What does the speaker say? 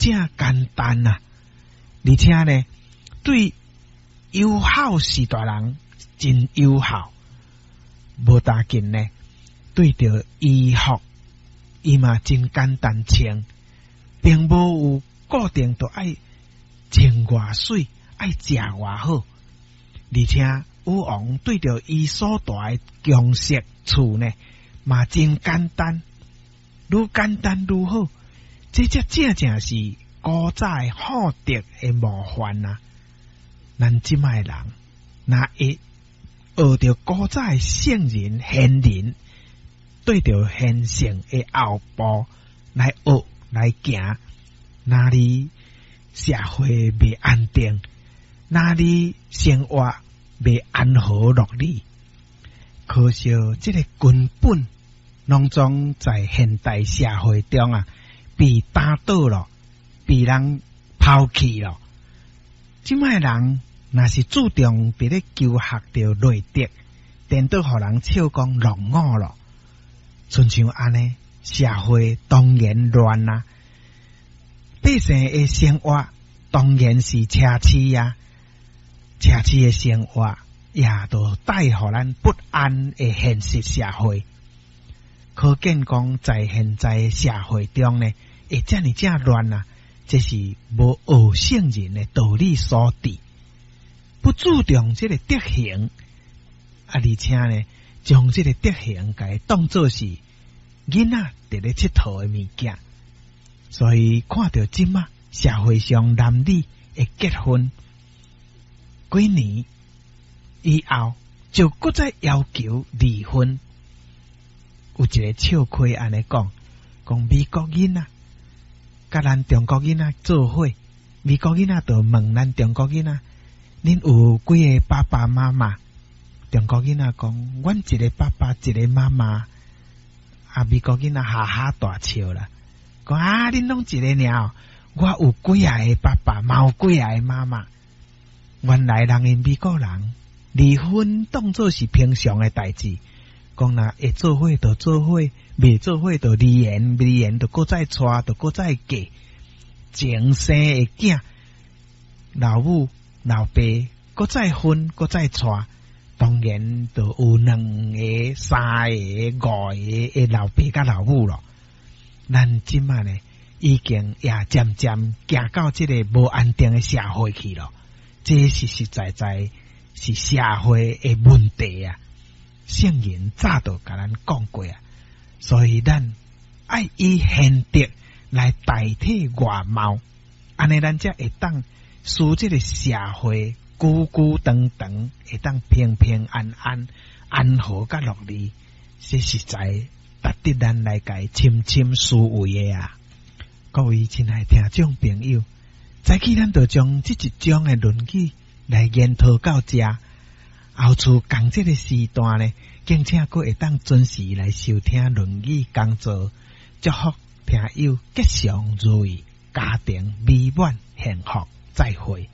正簡單啊，而且呢，對友好時代人真友好，無打緊呢，對著衣服，伊嘛真簡單穿，並無有固定著愛穿偌媠，愛食偌好，而且女王對著伊所住的宮室厝呢，嘛真簡單，愈簡單愈好。這才正正是古早的好德的模範啊！咱這擺的人，若會學著古早的聖人賢人，對著現成的後步來學來行，哪裡社會袂安定，哪裡生活袂安和樂利？可惜這个根本攏總在現代社會中啊，被打倒了，被人拋棄了。這擺人若是注重佇咧求學著內德，顛倒予人笑講落伍咯。親像按呢，社會當然亂啊，百姓的生活當然是奢侈啊，奢侈的生活也都帶予咱不安的現實社會。可見講，在現在社會中呢，會遮爾正亂啊！這是無學聖人的道理所致，不注重這个德行，啊，而且呢，將這个德行共伊當做是囡仔佇咧𨑨迌的物件，所以看著這馬社會上男女會結婚幾年以後，就閣再要求離婚。有一个笑話按呢講，講美國囡仔佮咱中國囡仔做伙，美國囡仔就問咱中國囡仔，恁有幾个爸爸媽媽？中國囡仔講，阮一个爸爸，一个媽媽。啊，美國囡仔哈哈大笑啦，講啊，恁攏一個爾，我有幾仔个爸爸，嘛有幾仔个媽媽。原來人𪜶美國人離婚當做是平常的代誌。講若會做伙就做伙，袂做伙就離緣，離緣就閣再娶，就閣再嫁。前生的囝，老母老爸閣再婚，閣再娶，當然就有兩个、三个、五个的老爸佮老母咯。咱這馬呢，已經也漸漸行到這个無安定的社會去咯。這實實在在是社會的問題啊！聖人早就共咱講過啊，所以咱愛以賢德來代替外貌，按呢咱才會當使這个社會久久長長，會當平平安安、安和佮樂利，這實在值得咱來共深深思維的啊！各位親愛聽眾朋友，早起咱就將這一章的論語來研討到這。後次仝這个時段呢，敬請閣會當準時來收聽《論語講座》，祝福聽友吉祥如意，家庭美滿幸福，再會。